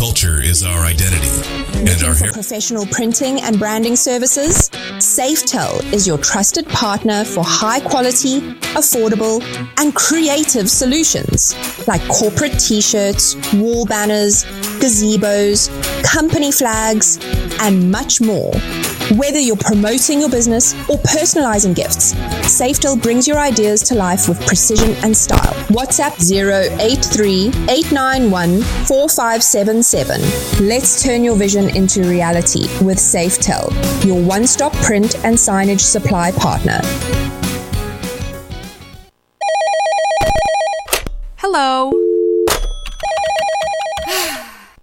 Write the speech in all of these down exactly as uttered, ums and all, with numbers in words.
Culture is our identity and our For professional printing and branding services, Safetel is your trusted partner for high quality, affordable, and creative solutions like corporate t shirts, wall banners, gazebos, company flags, and much more. Whether you're promoting your business or personalizing gifts, Safetel brings your ideas to life with precision and style. WhatsApp zero eight three eight nine one four five seven seven. Let's turn your vision into reality with Safetel, your one stop print and signage supply partner. Hello.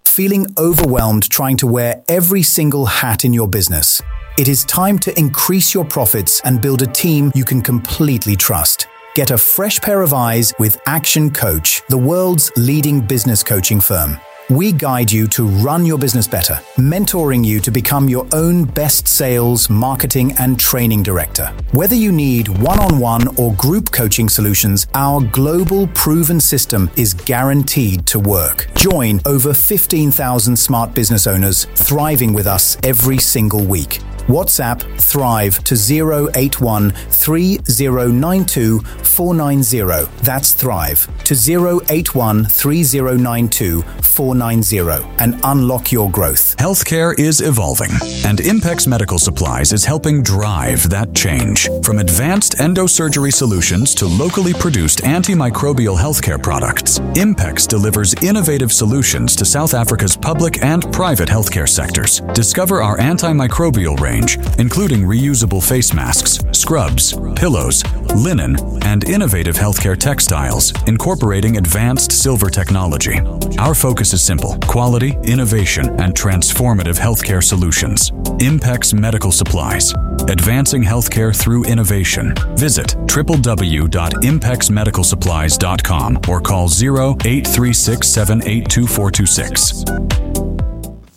Feeling overwhelmed trying to wear every single hat in your business? It is time to increase your profits and build a team you can completely trust. Get a fresh pair of eyes with Action Coach, the world's leading business coaching firm. We guide you to run your business better, mentoring you to become your own best sales, marketing, and training director. Whether you need one on one or group coaching solutions, our global proven system is guaranteed to work. Join over fifteen thousand smart business owners thriving with us every single week. WhatsApp Thrive to zero eight one three zero nine two four nine zero. That's Thrive to zero eight one three zero nine two four nine zero and unlock your growth. Healthcare is evolving, and Impex Medical Supplies is helping drive that change. From advanced endosurgery solutions to locally produced antimicrobial healthcare products, Impex delivers innovative solutions to South Africa's public and private healthcare sectors. Discover our antimicrobial range, including reusable face masks, scrubs, pillows, linen, and innovative healthcare textiles, incorporating advanced silver technology. Our focus is simple: quality, innovation, and transformative healthcare solutions. Impex Medical Supplies, advancing healthcare through innovation. Visit w w w dot impex medical supplies dot com or call zero eight three six seven eight two four two six.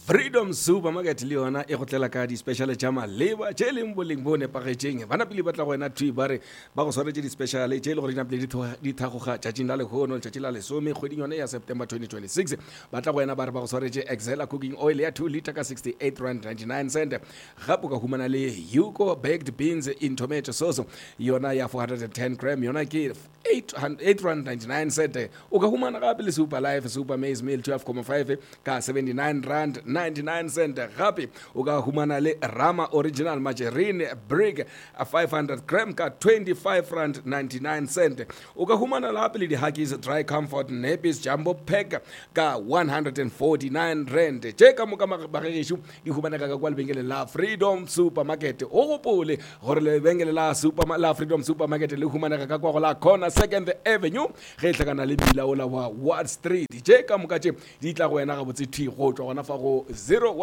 Freedom Supermarket le yona e go tlela ka di-special tša maleba tše leng boleng bo nepagetšeng. Bana pele ba tla go wena thwi ba re ba go swaretše di-special tše e le gore di napile di thagoga tšatšing la lehono, letšatši la lesome kgweding yone ya September twenty twenty-six. Ba tla go wena ba re ba go swaretše Excella cooking oil ya two liter ka sixty-eight rand ninety-nine cent. Gape o ka humana le Hugo baked beans in tomato sauce yona ya four hundred and ten gram, yona ke eight rand ninety-nine cent. O ka humana gape le Super Life Super Maize Meal twelve comma five ka seventy-nine rand ninety-nine cent. Gape o ka humana le Rama Original Margarine Brick five hundred gram ka twenty-five rand ninety-nine cent. O ka humana gape le di-Huggies Dry Comfort Nappies Jumbo Pack ka one hundred and forty-nine rand. Tše ka moka bagešo di humanega ka kwa lebenkeleng la Freedom Supermarket. O gopole gore lebenkele la Super, la Freedom Supermarket le humanega ka kwa go la Corner Second Avenue ge e hlakana le mmila ola wa Ward Street. Tše ka moka tše di tla go wena gabotse thwi go tšwa gona fa go zero